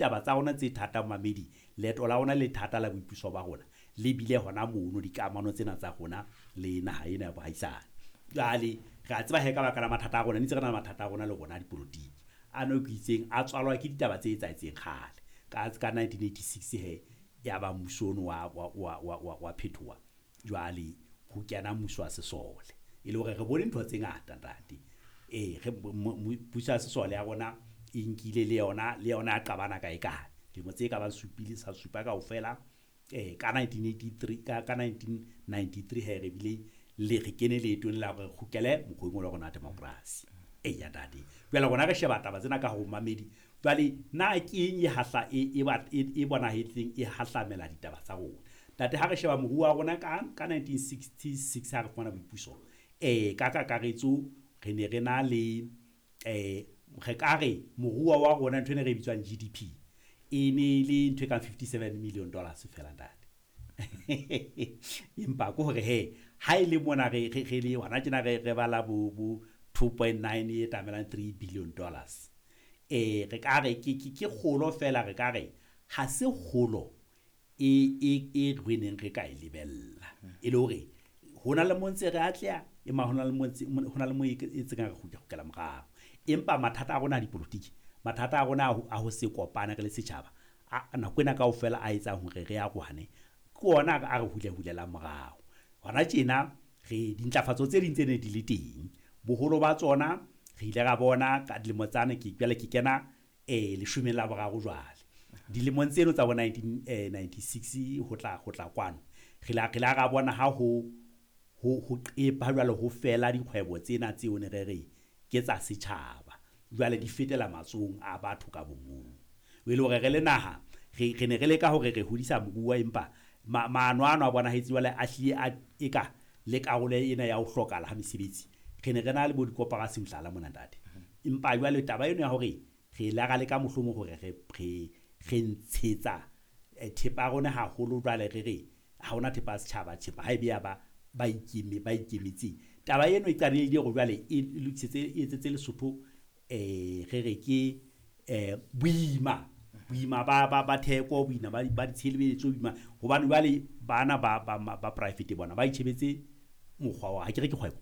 Taba tsa rona tse thata momamedi, leeto la rona le thata la boipuso ba rona le bile hona mono dikamano tsena tsa rona le naha ena ya bohaisane. Jwale re a tseba he ka baka la mathata a rona, ne ntse re na le mathata a rona le rona a dipolotiki. Ano ke itseng a tswalwa ke ditaba tse etsahetseng kgale. Ka 1986 he, ya ba mmuso ono wa phethoha. Jwale ho kena mmuso wa sesole. E le hore re bone ntho tse ngata ntate. Ee, re puso ya sesole ya rona e nkile le yona, le yona ya qabana kae kae. Dilemo tse ka bang supile sa supa kaofela. Ka 1983, ka 1993 he re bile le re kene leetong la hore re kgutlele mokgweng wa rona wa democracy. Eya ntate. Jwale rona re sheba taba tsena ka ho mamedi. Jwale na ke eng e hahla e bonahetseng e hahlamela ditaba tsa rona? Ntate, ha re sheba moruo wa rona ka 1966 ha re fumana boipuso, ka kakaretso re ne re na le re ka re moruo wa rona ntho ena re bitswang GDP e ne le ntho e kang $57 million feela ntate. Empa ke hore he ha e le mona re le hona tjena re bala bo 2.9 e tamelang $3 billion. Re ka re ke kgolo fela, re ka re ha se kgolo e re neng re ka e lebella. E le hore hona le mo ntse re atleha, empa hona le mo ntse, hona le mo e tseng re kgutla morao. Empa mathata a rona a dipolotiki, mathata a rona a ho se kopane re le setjhaba, nako ena kaofela a etsang hore re arohane, ke ona a re hule-hulelang morao. Hona tjena re dintlafatso tse ding tse ne di le teng, boholo ba tsona re ile ra bona ka dilemo tsane, ke jwale ke kena leshome la boraro jwale. Dilemong tseno tsa bo 1996 ho tla kwano, re la ra bona ha ho qepa jwale ho fela dikgwebo tsena tseo ne re re ke tsa setjhaba, jwale di fetela matsohong a batho ka bomong. E le hore re le naha re ne re leka hore re hodisa moruo, empa maano ano a bonahetse jwale a hlile a eka le karolo ena ya ho hlokahala ha mesebetsi. Re ne re na le bo dikoporasi mohlala mona ntate. Empa jwale taba eno ya hore re la ra leka mohlomong hore re ntshetsa thepa ya rona haholo, jwale re re ha hona thepa ya setjhaba, thepa ha e be ya ba ikemetseng. Taba eno e qadile hore jwale e lokisetse, e etsetse Lesotho re re ke boima, boima ba theko, boima ba ditshebeletso, boima hobane jwale bana ba private bona ba itjhebetse mokgwa wa ha ke re ke kgwebo.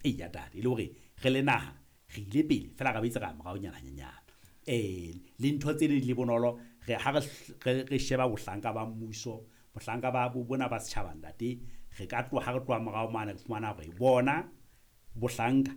Eya ntate, e le hore re le naha re ile pele fela ra boetse ra moraonyana hanyenyana. Le ntho tse ding le bonolo, re ha re sheba bohlanka ba mmuso, bohlanka ba bona ba setjhaba ntate, re ka tloha ha re tloha morao mane re fumana hore bona bohlanka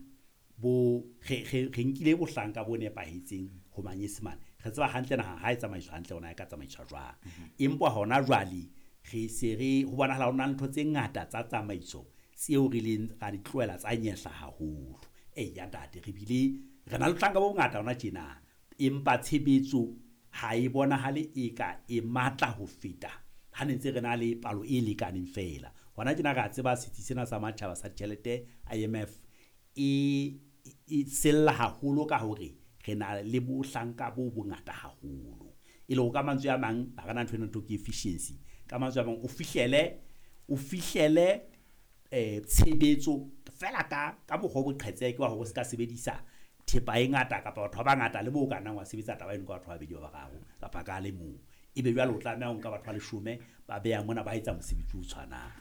bo re nkile bohlanka bo nepahetseng ho manyesemane. Re tseba hantle naha ha e tsamaiswa hantle hona e ka tsamaiswa jwang. Empa hona jwale re se re ho bonahala ho na le ntho tse ngata tsa tsamaiso tseo re leng ra di tlohela tsa nyehla haholo. Eya ntate, re bile re na le bohlanka bo bongata hona tjena, empa tshebetso ha e bonahale e ka e matla ho feta ha ne ntse re na le palo e lekaneng fela. Hona tjena re a tseba setsi sena sa matjhaba sa ditjhelete IMF e sella haholo ka hore re na le bohlanka bo bongata haholo. E le hore ka mantswe a mang ha re na ntho ena ntho ke efficiency. Ka mantswe a mang o fihlele tshebetso fela ka mokgwa o boqhetseke wa hore o ska sebedisa thepa e ngata kapa batho ba bangata, le moo o ka nnang wa sebetsa taba eno ka batho ba babedi ba bararo kapa ka le mong. Ebe jwale o tlameha ho nka batho ba leshome ba beha mona ba etsa mosebetsi o tshwanang.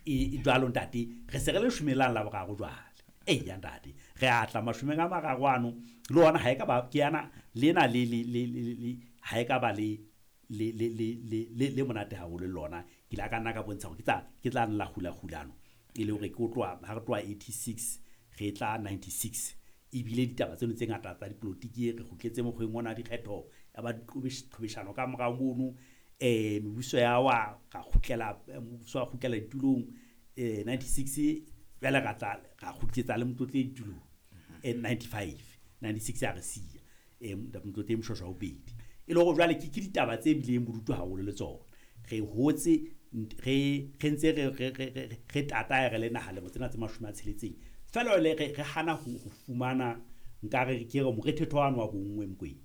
E jwalo ntate, re se re le leshome la boraro jwale. Eya ntate, re atla mashome a mararo ano le ona ha e ka ba ke yana lena le ha e ka ba le monate haholo le lona. Ke la ka nna ka bontsha hore ke tla nna kgula-kgulano. E le hore ke tloha ha re tloha 86 re tla 96. Ebile ditaba tseno tse ngata tsa dipolotiki re kgutletse mokgweng ona dikgetho ya ba diqhobeshano ka morao mono. Mebuso ya wa ra kgutlela, mmuso wa kgutlela ditulong 96, jwale ra tla ra kgutletsa le Motlotleng ditulong 95, 96 ya re siya Motlotleng Moshoeshoe wa bobedi. E le hore jwale ke ditaba tse bileng bodutu haholo le tsona. Re hotse re ntse re tatae re le naha lemo tsena tse 60. Fela le re hana ho fumana nkare ke re morethetho wa bonngwe Mokwena.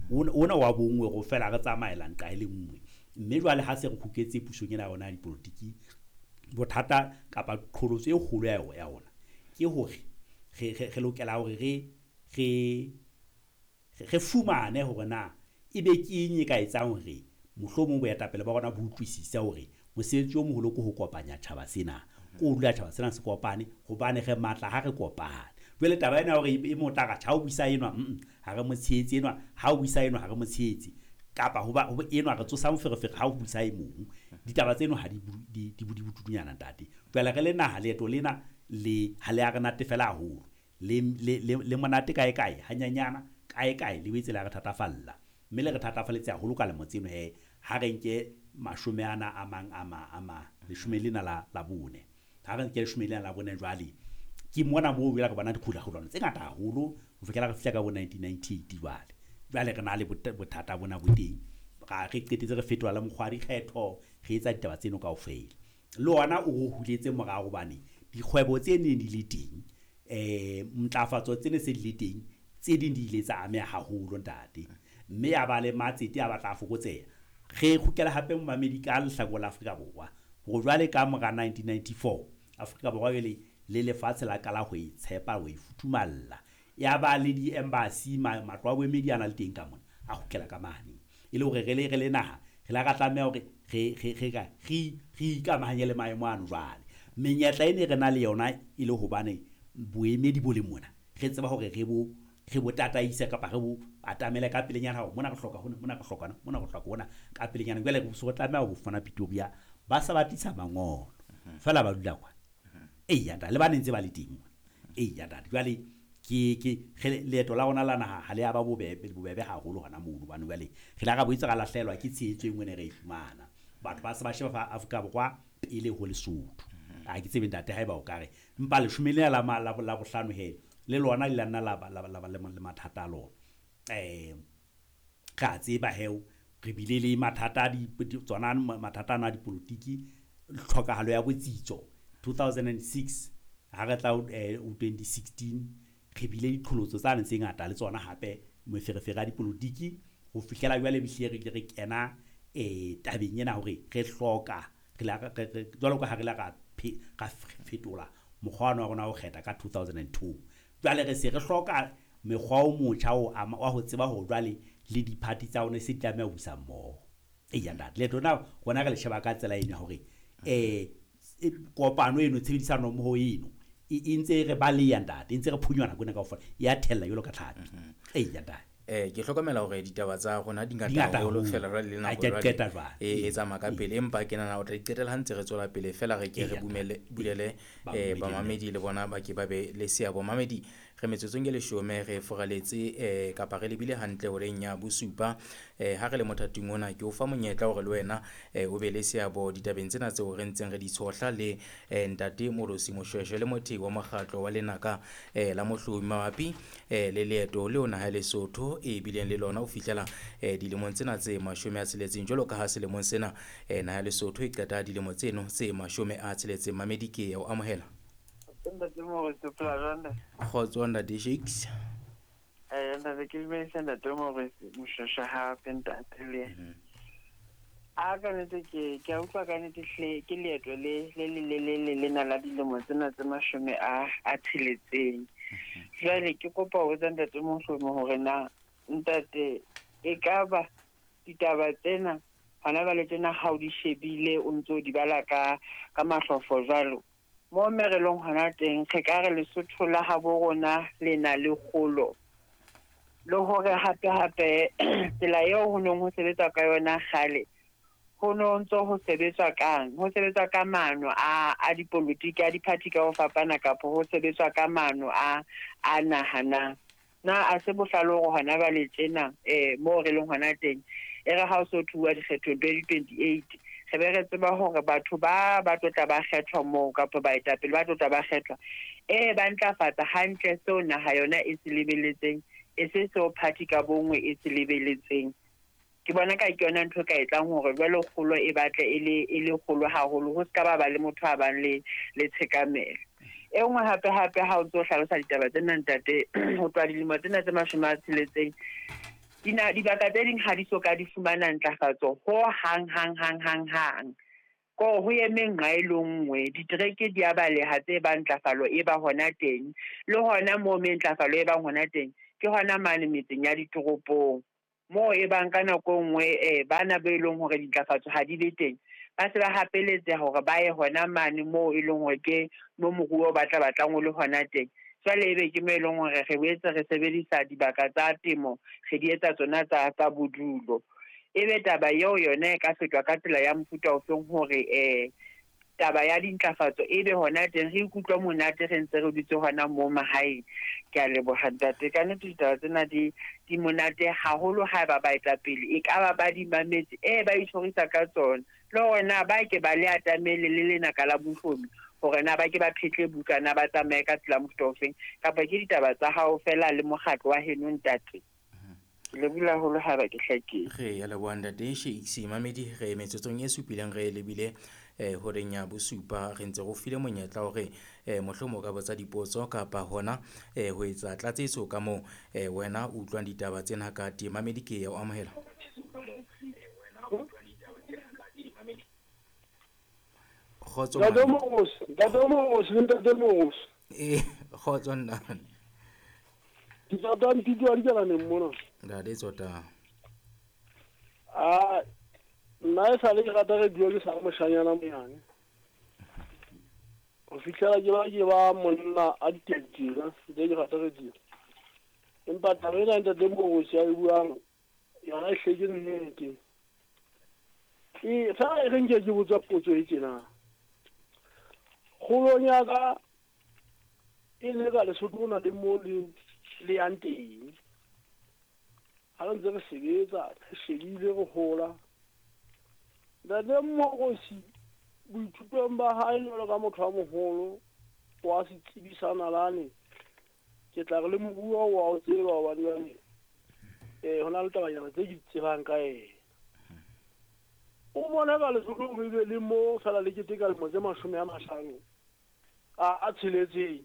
Ona wa bonngwe ro fela re tsamaela nqa e le nngwe. Mme jwale ha se re kgutletse pusong ena ya rona ya dipolotiki, bothata kapa qholotso e kgolo ya rona ke hore re lokela hore re fumane hore na Ebe ke eng e ka etsang hore mohlomong boetapele ba rona bo utlwisise hore mosebetsi o moholo ke ho kopanya tjhaba sena, ke ho dula tjhaba sena se kopane, hobane re matla ha re kopane. Jwale taba ena ya hore e mong o tla re tjhe ha o buisa enwa, ha re mo tshehetse enwa, ha o buisa enwa ha re mo tshehetse, kapa hoba enwa re tsosa moferefere ha o buisa e mong. Ditaba tseno ha di di bodutunyana ntate. Jwale re le naha leeto lena le ha le a re natefela haholo, le monate kae kae hanyanyana, kae kae le boetse le a re thatafalla. Mme le re thatafalletse haholo ka lemo tseno he, ha re nke mashome ana a mang a ma a ma leshome lena la bone. Ha re nke leshome lena la bone jwale, ke mona moo jwale re bona dikgulakgulano tse ngata haholo ho fihlela re fihla ka bo 1998 jwale. Jwale re na le bothata bona bo teng. Re qetetse re fetola le mokgwa wa dikgetho, re etsa ditaba tseno kaofela. Le ona o re huletse morao hobane dikgwebo tse neng di le teng, ntlafatso tse ne se di le teng, tse ding di ile tsa ameha haholo ntate. Mme ya ba le matsete a batla a fokotseha. Re kgutlela hape momamedi ka lehlakore la Afrika Borwa. Hore jwale ka mora 1994, Afrika Borwa jwale le lefatshe la qala ho e tshepa, ho e futhumalla. Ya ba le di-embassy, matlo a boemedi a na le teng ka mona, a kgutlela ka mane. E le hore re le naha, re la ra tlameha hore re ikamahanye le maemo ano jwale. Menyetla e ne re na le yona e le hobane boemedi bo le mona, re tseba hore re bo tataise kapa re bo atamele ka pelenyana hore mona re hloka hona, mona re hloka hona, mona re hloka hona ka pelenyana. Jwale re so tlameha ho fumana Pretoria, ba sa ba tlisa mangolo feela ba dula kwa. Eya ntate, le ba ne ntse ba le teng mona. Eya ntate, jwale ke leeto la rona la naha ha le a ba bobebe haholo hona mono, hobane jwale re la ra boetse ra lahlehelwa ke tshehetso e nngwe ne re e fumana. Batho ba se ba sheba fa Afrika Borwa pele ho Lesotho. Ha ke tsebe ntate haeba o ka re empa leshome lena la bohlano he le lona le la nna la ba le mathata a lona. Re a tseba he re bile le mathata a tsona mathata ana a dipolotiki, tlhokahalo ya botsitso 2006 ha re tla 2016 re bile diqholotso tsane tse ngata le tsona hape meferefere ya dipolotiki ho fihlela jwale ehlile re ile re kena tabeng ena hore re hloka jwalo ka ha re la ra fetola mokgwa wa rona wa ho kgetha ka 2002. Jwale re se re hloka mekgwa o motjha wa ho tseba hore jwale le di-party tsa rona se di tlameha ho busa mmoho. Eya ntate, leeto lena rona re le sheba ka tsela eno ya hore kopano eno, tshebedisano mmoho eno e ntse re baleha ntate, e ntse re phunywa nako ena kaofela, ya thella jwalo ka tlhapi. Eya ntate. Ke hlokomela hore ditaba tsa rona di ngata haholo fela jwale le nako jwale e tsamaya ka pele, empa ke nahana o tla di qetela ha ntse re tswela pele fela re ke re bulele bamamedi le bona ba ke ba be le seabo. Mamedi, re metsotsong e leshome re foraletse kapa re lebile hantle horeng ya bosupa. Ha re le mothating ona ke o fa monyetla hore le wena o be le seabo ditabeng tsena tseo re ntseng re di tshohla le ntate Moorosi Moshweshwe le mothehi wa mokgatlo wa Lenaka la Mohlomi mabapi le leeto leo naha ya Lesotho e bileng le lona ho fihlela dilemong tsena tse 60, jwalo ka ha selemong sena naha ya Lesotho e qeta dilemo tseno tse 60. Mamedi, ke ya o amohela. Ntate Moorosi, o phela jwang ntate? Kgotso ntate Shakes. Ntate, ke dumedisa ntate Moorosi Moshweshwe hape ntate le. A ka nnete ke a utlwa ka nnete hle ke leeto le le le le le lena la dilemo tsena tse 60. Jwale ke kopa ho botsa ntate Mohlomi hore na ntate e ka ba ditaba tsena hona jwale tjena ha o di shebile o ntso di bala ka mahlofo jwalo, mo me re leng hona teng re ka re Lesotho la habo rona le na le kgolo, le hore hape hape tsela eo ho neng ho sebetswa ka yona kgale ho no ntso ho sebetswa kang, ho sebetswa ka maano a dipolotiki a di-party ka ho fapana, kapa ho sebetswa ka maano a nahanang. Na a se bohlale hore hona jwale tjena moo re leng hona teng e re ha o so thuwa dikgethong 2028 re be re tseba hore batho ba tlo tla ba kgethwa moo kapa baetapele ba tlo tla ba kgethwa ba ntlafatsa hantle seo naha yona e se lebeletseng, e se seo party ka bongwe e se lebeletseng. Ke bona ka ke yona ntho e ka etsang hore jwale kgolo e batle e le kgolo haholo, ho ska ba le motho a bang le tshekamelo. E nngwe hape hape ha o ntso hlalosa ditaba tsena ntate, ho tloha dilemo tsena tse 60 dibaka tse ding ha di so ka di fumana ntlafatso ho hang hang hang hang hang. Ko ho eme nqa e le nngwe, ditereke di a baleha tse bang ntlafalo e ba hona teng, le hona moo me ntlafalo e bang hona teng ke hona mane metseng ya ditoropong. Moo e bang ka nako nngwe bana be leng hore dintlafatso ha di be teng, ba se ba hapeletseha hore ba ye hona mane moo e leng hore ke mo moruo ba tla batlang o le hona teng. Jwale ebe ke mo e leng hore re boetse re sebedisa dibaka tsa temo, re di etsa tsona tsa bodulo. Ebe taba eo yona e ka fetwa ka tsela ya mofuta ofeng hore taba ya dintlafatso ebe hona teng re ikutlwa monate re ntse re dutse hona moo mahaeng. Ke a leboha ntate, ka nnete ditaba tsena di monate haholo haeba baetapele e ka ba di mametse, ba itjhorisa ka tsona. Le hore na ba ke ba le atamele le lenaka la mohlomi hore na ba ke ba phetle buka na ba tsamaye ka tsela mofuta ofeng, kapa ke ditaba tsa hao fela le mokgatlo wa heno ntate. Le bula haholo haeba ke hlakile. Re ya leboha ntate Shakes. Mamedi re metsotsong e supileng re lebile horeng ya bosupa, re ntse go file monyetla hore mohlomong o ka botsa dipotso kapa hona ho etsa tlatsetso ka moo wena o utlwang ditaba tsena ka teng. Mamedi ke ya o amohela. Kgotso Ntate Mogosi. Kgotso nna. Ke tsota ntitwa di tsela mona. Ntate tsota. Ah, nna e sale ke rata radio ke sa moshanyana monyane. Ho fihlela ke ba monna a ditetsila, ntse ke rata radio. Empa taba ena ntate Mogosi a e buang yona e hleke nnete. Fa e re nke ke botsa potso e tjena. Kgolong ya ka e le ka Lesotho na le mo le yang teng. Ha re ntse re sebetsa, re shebile re hola. Ntate Mogosi boithutong ba hae jwalo ka motho wa moholo wa setsebi sa nalane, ke tla re le moruo wa o tseba hobane jwale ho na le tabanyana tse ke di tsebang ka ena. O bona ka Lesotho ho be le mo fela le keteka lemo tse 50 a tsheletseng,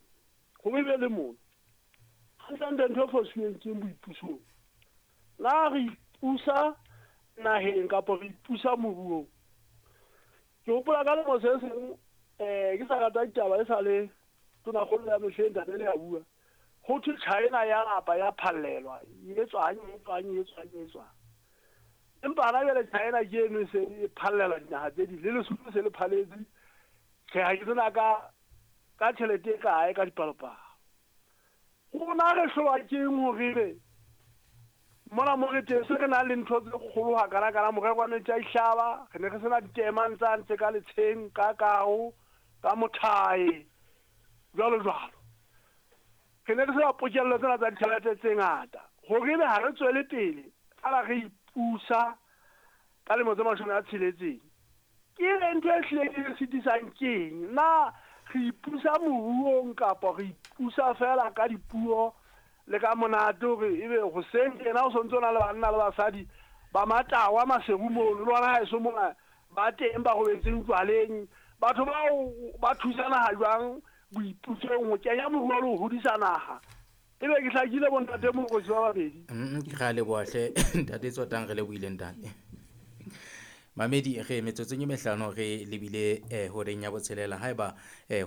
ho be le mona. Hantle ntho e fositsweng ke boipusong. Na re ipusa naheng kapa re ipusa moruong? Ke hopola ka lemo se seng ke sa rata ditaba e sa le tonakgolo ya mehleng ntate le ya bua. Ho thwe China ya lapa ya phallelwa, e tswang. Empa hana jwale China ke eno e se e phallela dinaha tse ding, le Lesotho se le phaletse. Tjhe, ha ke tsena ka tjhelete e kae ka dipalopalo. Rona re hlolwa ke eng hore ebe mona mo re teng se re nang le ntho tse kgolo hakana-kana, morero wa metsi a dihlaba, re ne re sena ditemang tsa ntse ka letsheng, ka kao, ka mothae, jwalo jwalo. Re ne re sena pokello tsena tsa ditjhelete tse ngata. Hore ebe ha re tswele pele, fela re ipusa ka lemo tse 60. Ke ntho e hlileng e re sitisang ke eng? Na re ipusa moruong kapa re ipusa fela ka dipuo le ka monate hore ebe hoseng tjena o sontso na le banna le basadi ba matawa Maseru mono, le hona haeso mona ba teng ba robetseng jwaleng. Batho bao ba thusana ha jwang boipusong ho kenya moruo le ho hodisa naha? Ebe ke hlakile bo ntate Mogosi ba babedi. Ke ra leboha hle ntate Tsotang, re lebohile ntate. Mamedi re metsotsong e mehlano re lebile horeng ya botshelela. Haeba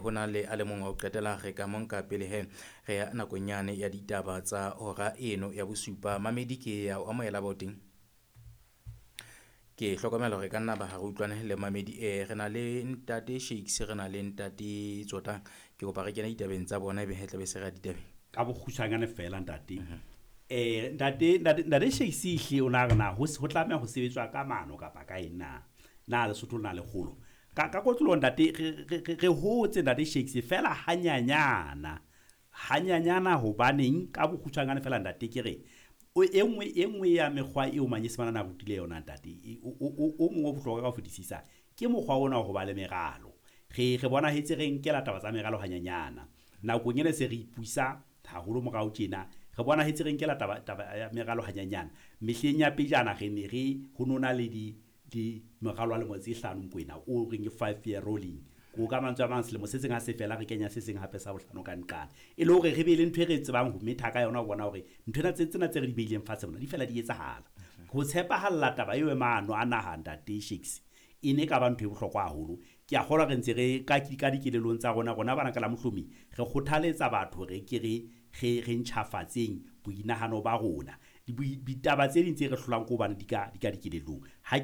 ho na le a le mong wa ho qetela re ka monka pele he re ya nakong yane ya ditaba tsa hora eno ya bosupa. Mamedi ke ya o amohela ba o teng. Ke hlokomela hore ka nna ba ha re utlwane le mamedi. Re na le ntate Shakes, re na le ntate Tsotang. Ke kopa re kene ditabeng tsa bona ebe he tla be se re ya ditabeng. Ka bokgutshwanyane fela ntate. Ntate Shakes hle o na re na ho tlameha ho sebetswa ka mano kapa ka eng na? Na Lesotho na le kgolo? Ka kotlolo ntate re hotse ntate Shakes fela hanyanyana. Hanyanyana hobaneng ka bokgutshwanyane fela ntate ke re e nngwe ya mekgwa eo manyesemane a rutile yona ntate, o mongwe o bohlokwa ka ho fetisisa ke mokgwa ona wa ho ba le meralo. Re bonahetse re nkela taba tsa meralo hanyanyana. Nakong ena se re ipusa haholo morao tjena, re bonahetse re nkela taba ya meralo hanyanyana. Mehleng ya pejana re ne re ho nona le di meralo wa lemo tse 5 Mokwena o reng ke 5 year rolling. Ko ka mantswe a mang selemo se seng ha se fela re kenya se seng hape sa bohlano ka nqane. E le hore re be le ntho e re tsebang ho metha ka yona ho bona hore ntho ena tsena tse re di beileng fatshe mona di fela di etsahala. Ho tshepahalla taba eo e maano a naha ntate Shakes e ne ka ba ntho e bohlokwa haholo. Ke a kgolwa re ntse re ka dikelelong tsa rona bana ka la mohlomi re kgothaletsa batho re ke re ntjhafatseng boinahano ba rona. Ditaba tse ding tse re hlolang ke hobane di ka dikelellong. Ha